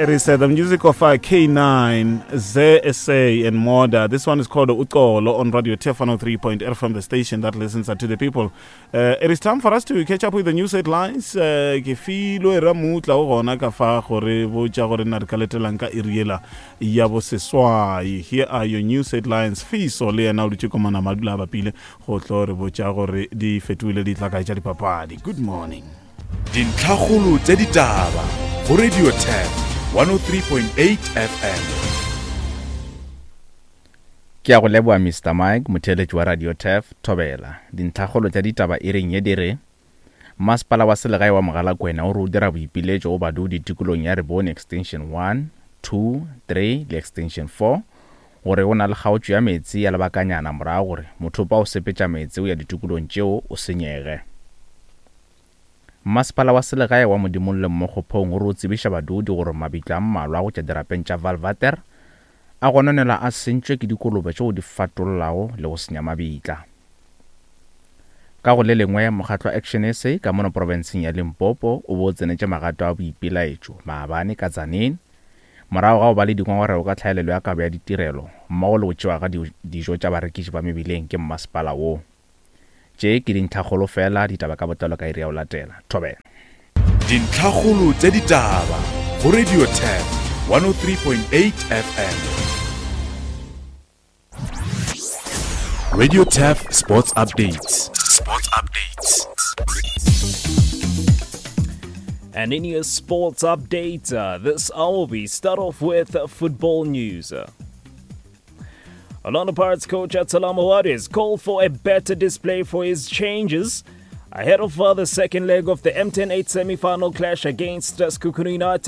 It is uh, the music of uh, K9, ZSA, and Moda. This one is called Uxolo on Radio Turf 103.8 from the station that listens to the people. Uh, it is time for us to catch up with the news headlines. Uh, ke filwe ramutla o gona ka fa gore botša gore na re ka letelang ka iriela ya boseswai. Here are your news headlines. Fiso le yena o dutše komana madula a bapile go tlo re botša gore di fetogile di tla kae tša dipapadi. Good morning. Dintlhakgolo tša ditaba go Radio Turf 103.8 FM. Ke a go leboga Mister Mike, motheeletši wa Radio Turf, Thobela. Dintlhakgolo tša ditaba iring ye di re, Masepala wa selegae wa Mogalakwena o re o dira boipiletšo go badudi tikolong ya Rebone Extension 1, 2, 3 le Extension 4 gore go na le kgaotšo ya meetse ya lebakanyana morago gore mothopo wa go sepetša meetse go ya ditikolong tšeo o senyege. Mmasepala wa selegae wa Modimolle Mmokgophong o re o tsebiša badudi gore mabitla a mmalwa go tša dirapeng tša Vaalwater a gononelwa a sentšwe ke dikolobe tšeo di fatollago le go senya mabitla. Ka go le lengwe, mokgatlo wa Action SA ka mono profenseng ya Limpopo o be o tsenetše magato a boipelaetšo maabane ka Tzaneen morago ga go ba le dingongorego ka tlhaelelo ya kabo ya ditirelo mmogo le go tšewa ga dijo tša barekiši ba mebileng ke mmasepala wo. Tše ke dintlhakgolo fela, ditaba ka botlalo ka iri ya go latela. Thobela. Dintlhakgolo tša ditaba go Radio Turf 103.8 FM. Radio Turf Sports Updates. Sports Updates. And in your sports update, uh, this hour we start off with uh, football news. Orlando Pirates coach Abdeslam Ouaddou has called for a better display for his changes ahead of uh, the second leg of the MTN 8 semi-final clash against uh, Sekhukhune United.